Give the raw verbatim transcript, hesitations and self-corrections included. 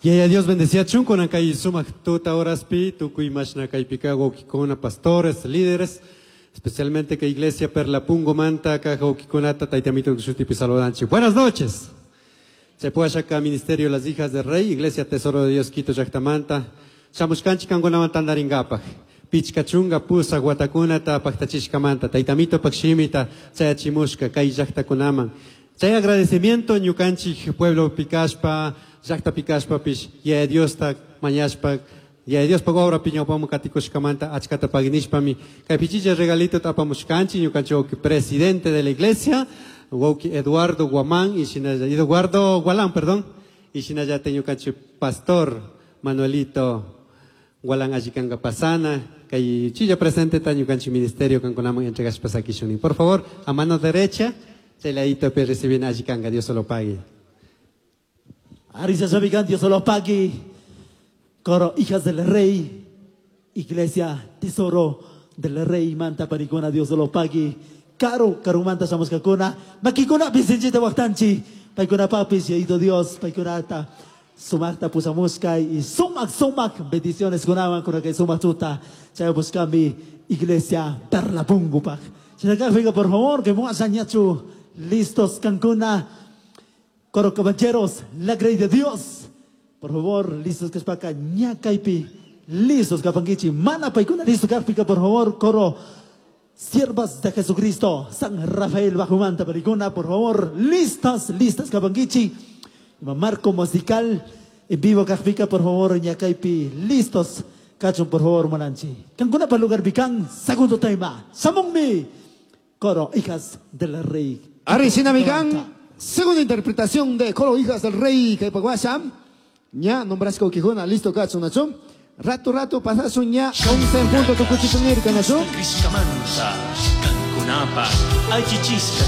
Yaya Dios bendeciachun kunan kay sumak tuta horaspi tukuy mashna kaypika wawkikuna pastores, líderes, especialmente que Iglesia Perlapungo manta kaj wawkikunata taytamito shutipi saludanchik. Buenas noches. Se puede acá Ministerio Las Hijas del Rey, Iglesia Tesoro de Dios Quito llaktamanta. Shamushkanchik kankunawan tantaringapaj. Pichka chunka pusaq watakunata paktachishkamanta, taytamito pak shimita chayachimushka kay llaktakunaman. Chay agradecimiento ñukanchik pueblo pikashpa, llakta pikashpapish, Yaya Diosta mañashpa, Yaya Diospak obra ñawpaman katikushkamanta achkata paginishpami kay pichicha regalito apamushkanchik ñukanchik wawki presidente de la iglesia, wawki Eduardo Guamán y shinalla, Eduardo Gualán, perdón, y shinallata ñukanchik pastor Manuelito Gualán allikanga pasana, kay chilla presente ta ñukanchik ministerio kankunaman entregashpa sakishuni. Por favor, a mano derecha, chay ladito pe reciben allikanga, Dios se lo pague. Arisa Sabigan, Dios se lo pague. Coro, hijas del rey, iglesia, tesoro del rey, manta paricona, Dios se lo pague. Caro, carumanta, samuskakuna, makikuna, bisinchita waktanchi, paikuna papis, yaito Dios, paikunata, sumakta pusamuska y sumak, sumak, bendiciones kunawan, kuna kay sumak tuta, chay buscami, iglesia, perla pungupak. Chinaka, por favor, que muasañachu, listos, cancuna. Coro caballeros, la grey de Dios. Por favor, listos que es paca, ñacaipi, listos capanguichi, mana paikuna, listo carpica, por favor, coro, siervas de Jesucristo, San Rafael Bajumanta, paricuna, por favor, listas, listas capanguichi, marco musical, en vivo carpica, por favor, ñacaipi, listos, cachun, por favor, monanchi. Cancuna para lugar bicán, segundo tema, Samungmi, coro, hijas del rey. Arrecina Micán, segunda interpretación de Coro Hijas del Rey, que paguasam. Ña, nombrasco Quijona, listo, cacho, nacho. Rato, rato, pasazo, ña, once en punto, tucuchitunir, canacho. Criscamanta, Cancunapa, Aychichisca,